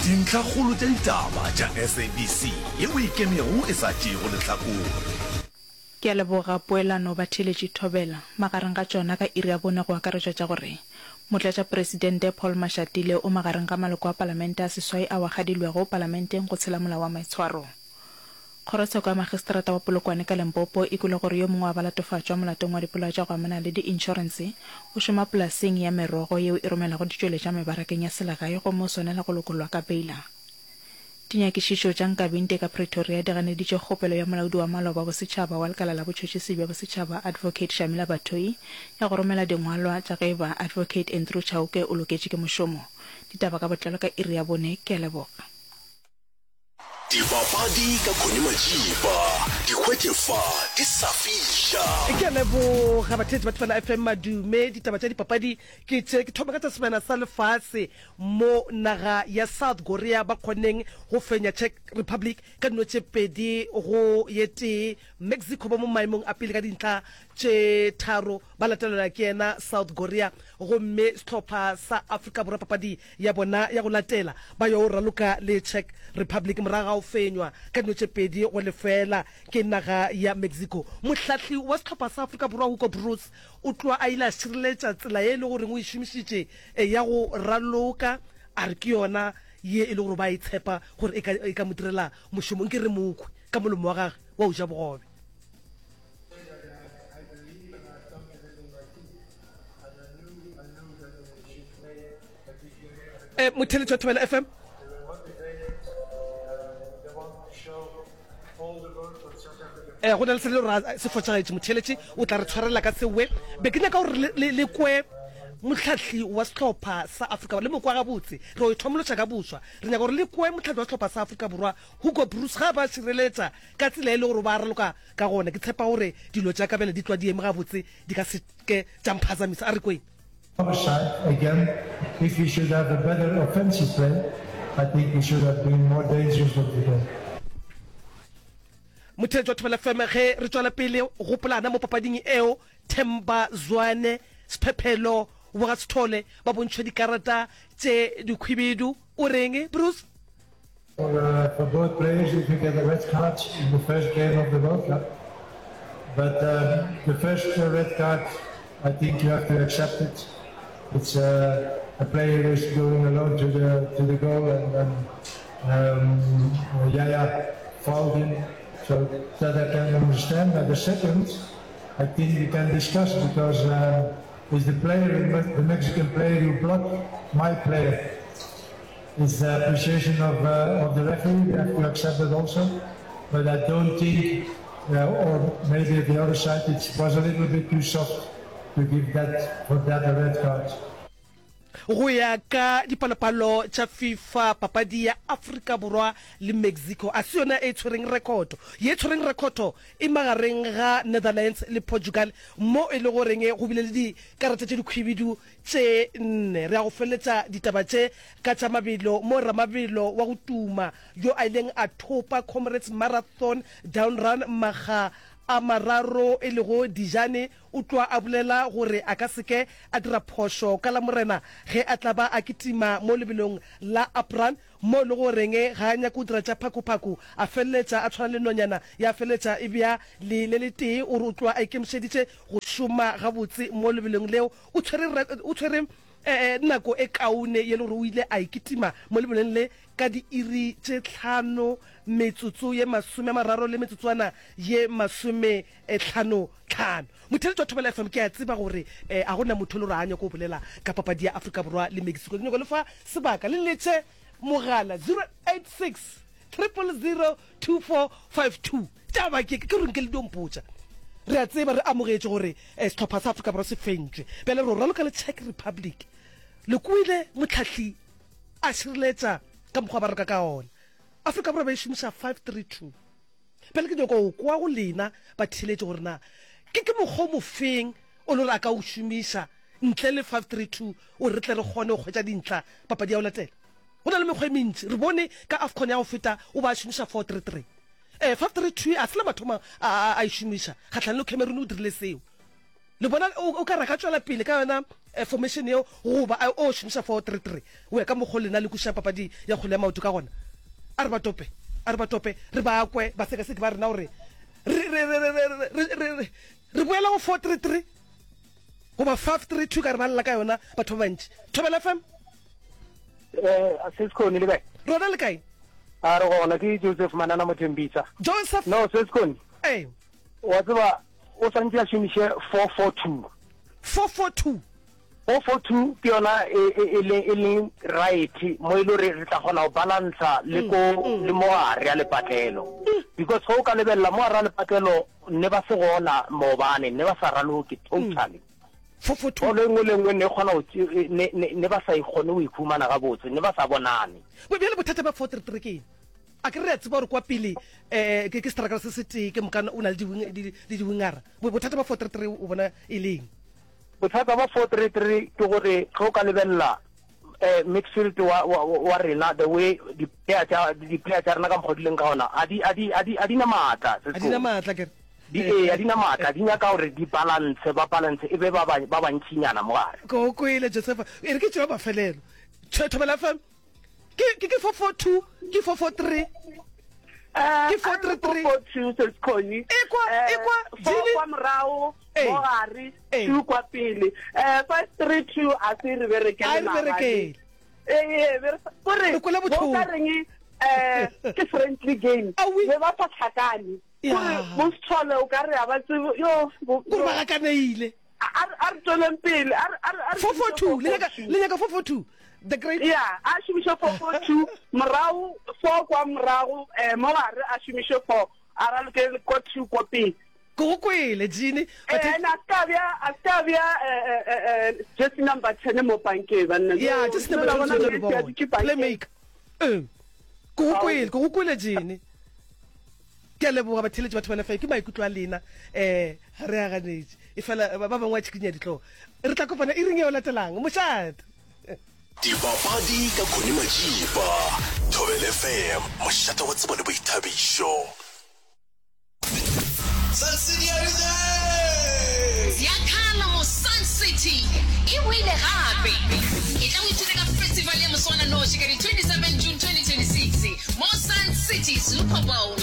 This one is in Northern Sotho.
Dintlhakgolo tša ditaba tša SABC yeo e ikemego e sa tšeego lehlakore. Ke a leboga poelano batheeletši Thobela. Magareng ga tšona ka iri ya bone go akaretšwa tša gore Motlatšapresidente Paul Mashatile o magareng ga maloko a palamente a seswai ao a kgadilwego palamenteng go tshela molao wa maitshwaro. Kgorotsheko ya Magistrata wa Polokwane ka Limpopo e kwele gore yo mongwe wa balatofatšwa molatong wa dipolao tša go amana le di-inšorense o šoma polaseng ya merogo yeo e romelago ditšweletšwa mebarakeng ya selegae gomme o swanela go lokollwa ka beila. Dinyakišišo tša Nkabinde ka Pretoria di ganeditše kgopelo ya molaodi wa maloba wa bosetšhaba wa Lekala la Botšhotšhisi bja Bosetšhaba Advocate Shamila Batohi ya go romela dingwalwa tša ge eba Advocate Andrew Chauke o loketše ke mošomo. Ditaba ka botlalo ka iri ya bone. Ke a leboga. Dipapadi ka Connie Majiba, di hwetše fa di sa fiša. Ke a leboga batheetši ba Thobela FM Madume. Ditaba tša dipapadi ke tše. Ke thoma ka tša sebjana sa lefase mo naga ya South Korea ba kgonneng go fenya Czech Republic ka dino tše 2 go ye tee. Mexico ba mo maemong a pele ka dintlha tše tharo ba latelelwa ke yena South Korea gomme sehlopha sa Afrika Borwa papadi ya bona ya go latela ba yo raloka le Czech Republic morago ga go fenywa ka dino tše 2-0 ke naga ya Mexico. Mohlahli wa sehlopha sa Afrika Borwa Hugo Broos o tloga a ile a šireletša tsela ye e le goreng o e šomišitše ya go raloka, a re ke yona ye e le gore ba e tshepa gore e ka mo direla mošomo. Nke re mo kwe ka molomo wa gagwe wa go ja bogobe. Eh, motheletši wa Thobela FM. Eh, go na le se le gore se fošagetše motheletši o tla re tshwarela ka sewe be ke nyaka gore le kwe mohlahli wa sehlopha sa Afrika Borwa le mokwa gabotse re o ithomološa ka boswa re nyaka gore le kwe mohlahli wa sehlopha sa Afrika Borwa Hugo Broos ga ba šireletša ka tsela e le gore ba raloka ka gona ke tshepa gore dilo tša ka bjale di tlwa di eme gabotse di ka se ke tša mphazamisa a re kweng Other side, again, if we should have a better offensive play, I think we should have been more dangerous than today. Motheetši wa Thobela FM, ge re tšwela pele gopolana mo papading eo, Themba Zwane, Sphephelo wa ga Sithole ba bontšhwa dikarata tše dikhwibidu. O reng, Bruce? For, for both players, if you get a red card in the first game of the World Cup, but um, the first red card, I think you have to accept it. It's uh, a player is going alone to the to the goal, and then um, Yaya fouled him. So that I can understand. But the second, I think we can discuss because um, it's the player, the Mexican player, who blocked my player. It's the appreciation of, uh, of the referee. We have to accept that also. But I don't think, uh, or maybe at the other side, it was a little bit too soft to give that for that a red card. Go ya ka dipalopalo tša FIFA, papadi ya Afrika Borwa le Mexico a se yona e tshwereng rekhoto. Ye tshwereng rekhoto e magareng ga Netherlands le Portugal mo e le goreng go bile le dikarata tše dikhwibidu tše nne. Re ya go feleletša ditaba tše ka tša mabelo mo ramabelo wa go tuma yo a ileng a thopa Comrades Marathon Down Run makga a mararo e lego Dijane o tloa a bolela gore a ka se ke a dira phošo ka Lamorena ge a tla ba a kitima mo lebelong la Up Run mo e le goreng ga a nyake go dira tša phakophaku a feleletša a tshwana le nonyana ya feleletša e bea lee le letee. O re o tloa a ikemišeditše go šoma gabotse mo lebelong leo. O tshwere, o tshwere nako e kaone ye le gore o ile a e kitima mo lebelong le ka diiri tše tlhano metsotso ye 30 le metsotswana ye masomehlanohlano. Motheeletši wa Thobela FM, ke a tseba gore a go na motho e le gore a nyake go bolela ka papadi ya Afrika Borwa le Mexico. Ke nyako le fa sebaka le letše mogala 086 000 2452. Taba ke, ke gore nke le dio mpotša. Re a tseba, re amogetše gore sehlopha sa Afrika Borwa se fentšwe. Bjale re o raloka le Czech Republic. Le kwele mohlahli a šireletša ka mokgwa ba raloka ka ona. Afrika Borwa ba e šomiša 5-3-2. Bjale ke nyaka go kwa go lena batheeletši gore na ke ke mokgwa o mofeng o le gore a ka o šomiša ntle le 5-3-2 gore re tle re kgone go hwetša dintlha papadi ya go latela. Go na le mekgwa e mentši. Re bone ka AFCON ya go feta o ba a šomiša 4-3-3. Ee, 5-3-2 a se la mathomo a, a, a e šomiša. Kgahlanong le Cameroon o dirile seo. Le bona o, o ka re a ka tšwela pele ka yona eh, formation yeo goba a o šomiša 4-3-3 go ya ka mokgo lena le kwešišang papadi ya kgwele ya maoto ka gona? A re ba tope, a re ba tope, re ba kwe basekaseki ba rena gore re, re, re, re, re, re, re, re, re boela go 4-3-3 goba 5-3-2 ka re ba lla ka yona batho ba bantši. Thobela FM. Eh, Seskhoni le kae? Rona le kae? A re gona ke Joseph Manana Mothembisa. Joseph. No, Seskhoni. Ee. Wa tseba o swantše a šomiše 442. 442. 442 ke yona e e e leng e leng right mo e le gore re tla kgona go balansa le ko le mo gare a lepatlelo. Because ge o ka lebelela mo gare a lepatlelo ne ba se gona maobane ne ba sa raloke totally. 442. Bolo e nngwe le e nngwe ne e kgona go ne ne ne ba sa e kgone go ikhumana gabotse ne ba sa bonane. Bjale bothata bja 433 ke eng? A ke re re a tseba gore kwa pele um ke ke strakara se se tee ke moka o na le di-wing le di-wingera. Bothata ba 433 o bona e le eng? Bothata ba 433 ke gore ge o ka lebelela um midfield wa, wa, wa rena the way di-player tša di-player tša rena ka mokgwa di leng ka gona a di a di a di a di na maatla A di na maatla ke re. Di ee a di na maatla di nyaka gore di balance ba balance e be ba ba ba bantšinyana mo gare. Ke go kwele Josefa. E re ke tšea mafelelo. Thobela FM. Ke ke ke 442, ke 443. Eh, Ke 433. 442 Seskhoni. Ekwa, Eh, ekwa, four Jimmy. kwa morago, Ee. mo gare, Ee. two kwa pele. Eh, 532 a se re berekele A e re maabane. berekele. Ee, ee, be re sa- kore Re kwele bo bohloko. ka reng eh ke friendly game. Aowi. Be ba sa hlakane. Ya. Kore bo Sithole o ka re a ba tsebe yo bo- Kore ba gakaneile. A re a re tšweleng pele. A re a re a re 442 le nyaka le nyaka 442 the great Ya, a šomiše 442 morago 4 kwa morago eh mo gare a šomiše 4 a raloke kwa 2 kwa pele. Ke go kwele Jeannie. Eh, and a ska bja a ska bja eh eh eh jersey number 10 mo pankeng banna. Ya, jersey number 10 tshwanetse re bone. Playmaker. Eh. Ke go kwele, ke go kwele Jeannie. Ke a leboga batheeletši ba Thobela FM, ke maikutlo a lena um ga re a ganetše, efela ba bangwe ba tšhikinya dihlogo. Re tla kopana iring yeo latelang. Mošate! Dipapadi ka Connie Majiba, Thobela FM, mošate wa tsebo le boithabišo. Sun City a re there! Ziakhala mo Sun City e boile gape! Etla o ithute ka festival ya moswananoši ka di 27 June 2026 mo Sun City Super Bowl.